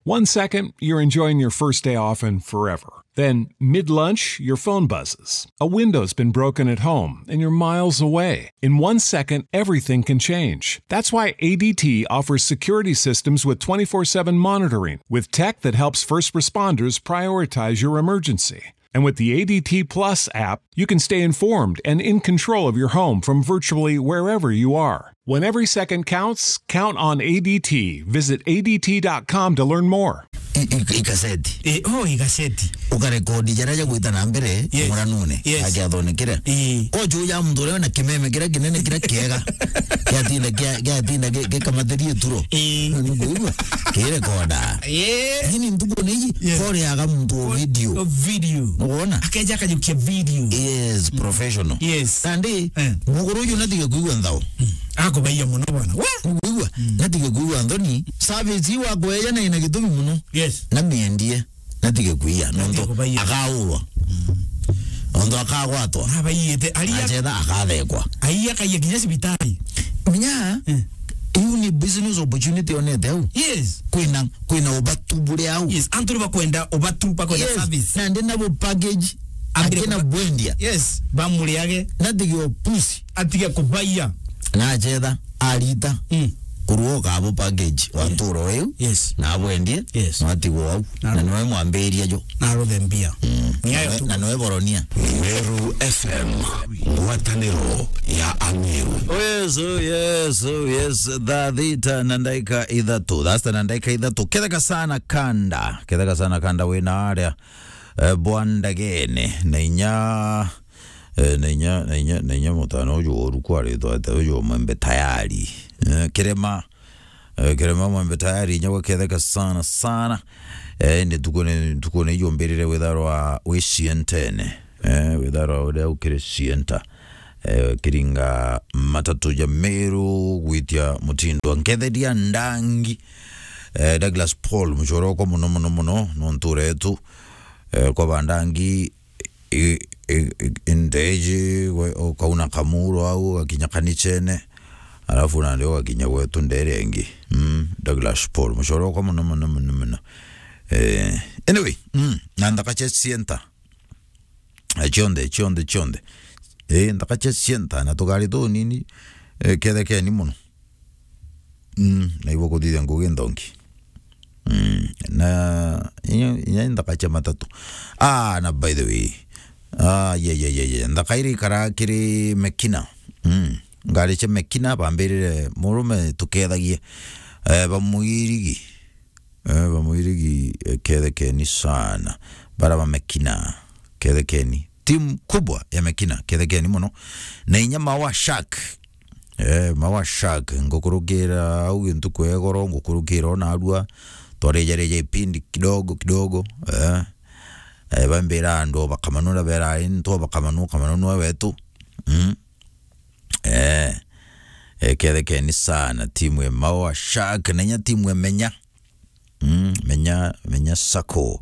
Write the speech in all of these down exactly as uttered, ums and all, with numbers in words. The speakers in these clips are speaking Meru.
One second, you're enjoying your first day off and forever. Then, mid lunch, your phone buzzes. A window's been broken at home and you're miles away. In one second, everything can change. That's why A D T offers security systems with twenty-four seven monitoring, with tech that helps first responders prioritize your emergency. And with the A D T Plus app, you can stay informed and in control of your home from virtually wherever you are. When every second counts, count on A D T. Visit A D T dot com to learn more. I- i- Ikaseti. Eh, oh, ikaseti. Ukarekodi jaria jagwita na mbere. Yes. Muranune. Yes. Akiathonekire. Ii. Kojo ya muntu uria na kimeme kiria kinene kiria kiega. Kiatinda kia- kiatinda gi- gikamathirie turo. Ii. Niguigua? Kirekoda. Eh. Lakini ntuku ni iji, yes, koreaga muntu o video. O video. Nukwona? Akeja akajukia video. Yes, professional. Yes. Nandi, eh, muguru uyu natige kuigua nthao. Mm. Akubaia muno bwana. We? Kuigua? Mm. Natige kuigua nthoni. Service iu akweja na ina gitumi muno. Yes. Na miendie. Natige kuia. Natige nontu kubaia. Akaurwa. Mm. Nontu akagwatwa. Abaiyite. Aria. Achetha akathekwa. Aia akaia kinya cibitari. Menya, mm, iu ni business opportunity onete au. Yes. Kwina, kwina ubatu buri au. Yes, antu ni bakwenda ubatu, bakwenda, yes, service. Na ndi nabo package, ambire akina kuba- bwendia. Yes, bamuriage. Natige opusi. Atige kubaia. Na achetha, arita. Mm. Kurwo kabo package wa, yeah, nturo iu. Yes. Na abwendie. Yes. Na atigwo au. Na, na noe mwambiria jo. Na aruthe mbia. Mm. Ni ayo tu. Na noe boronia. Meru F M, ngwataniro ya Ameru. Oh yes, oh yes, oh yes. Thaa thita na ndaika ithatu. Thaa sita na ndaika ithatu. Ketheka sana kanda. Ketheka sana kanda wina aria, eh, bwandagene. Na inya, eh, na inya, na inya, na inya mutano uju woru kwaritwa ate uju mwembe tayari. Eh, kirema, eh, kirema mwembe tayari, inya gwaketheka sana, sana. Eh, ni tuku ni, tuku ni ijumbirire witharwa wi cientene. Eh, witharwa uria ukiri cienta. Eh, kiringa matatu ja Meru gwitia mutindo. Nketheria ndangi. Eh, Douglas Paul, muchoroko muno, muno, muno, nontu uretu. Eh, kwa bandangi, i- i- i- indeji, we- ukauna kamuro au, ugakinya kanichene, alafu nandi ugakinya gwetu ndere ingi. Mm, Douglas Paul, muchoroko muno, muno, muno, muno. Eh, anyway, mm, na nthaka cia cienta. Eh, cionthe, cionthe, cionthe. Eh, nthaka cia cienta, na tugari tunini, eh, kethekeni muno. Mm, na ibo kuthithia ngugi nthongi. Mm, na inya, inya nthaka cia matatu. Ah, na by the way. Ah, ye, ye, ye, ye. Nthaka iri ikara kiri Mekina. Mm, ngari cia Mekina bambirire murume tukethagie. Eh, bamwirigi. Eh, bamwirigi, eh, kethekeni sana. Bara ba Mekina, kethekeni. Timu kubwa ya Mekina, kethekeni muno. Na inya Mawa Shark. Eh, Mawa Shark, ngukurukira au gintu kwegoro, ngukurukira ona arua. Twarejareja ipindi kidogo kidogo. Eh, eh, bambira andu bakamanura bera ntu bakamanua, kamanua wetu. Mm. Eh, eh, kethekeni sana. Timu ya Mawa Shark, na inya timu ya Menya. Mm, Menya, Menya Sacco.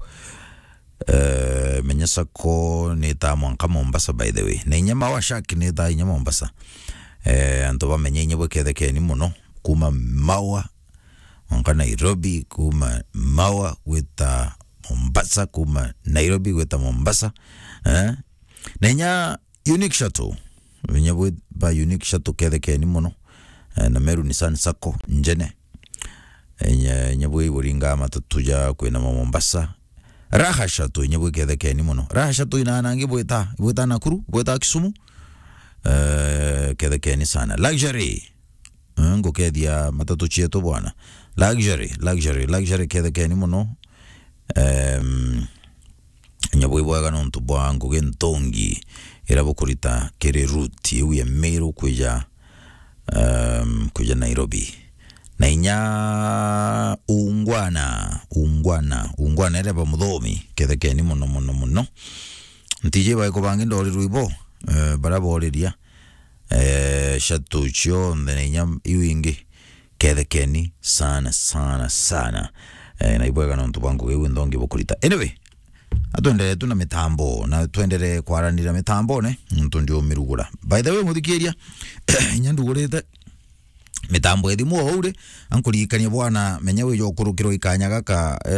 Eh, Menya Sacco ni ta mwanka Mombasa, by the way. Na inya Mawa Shark ni ta inya Mombasa. Eh, antu ba Menya inya bwikethekeni muno. Kuma Mawa, mwanka Nairobi, kuma Mawa gwita Mombasa, kuma Nairobi gwita Mombasa. Eh? Na inya Unique Shuttle. Inya bwi ba Unique Shuttle kethekeni muno. Eh, na Meru Nissan Sacco, njene. Inya, inya bwi buringa matatu ja kwina ma Mombasa. Raha Shuttle, inya bwi kethekeni muno. Raha Shuttle inanangi bwita, bwita Nakuru, bwita Kisumu. Eh, kethekeni sana. Luxury. Eh, ngukethia matatu cietu bwana. Luxury, luxury, luxury kethekeni muno. Em, Inya bwi bwega nontu bwa ngugi nthongi iria bukurita kiri route iu ya Meru kwija, um, kwija Nairobi. Na inya ungwana, ungwana, ungwana iria ba muthomi, kethekeni muno, muno, muno. Ntiji baiko bangi ndorirwe ibo, eh, baria boriria, eh, shuttle cionthe na inya iu ingi. Kethekeni sana, sana, sana. Eh, na ibwega nontu bwa ngugi iu nthongi bukurita. Anyway, atwenderee tu na mitambo, na twenderee kwaranira mitambone, nontu ndiumirugura. By the way, muthikiria, inya ndugurite, mitambo ya thimu o uri, ankuririkania bwana, menya wija ukurukirwa ikanya gaka,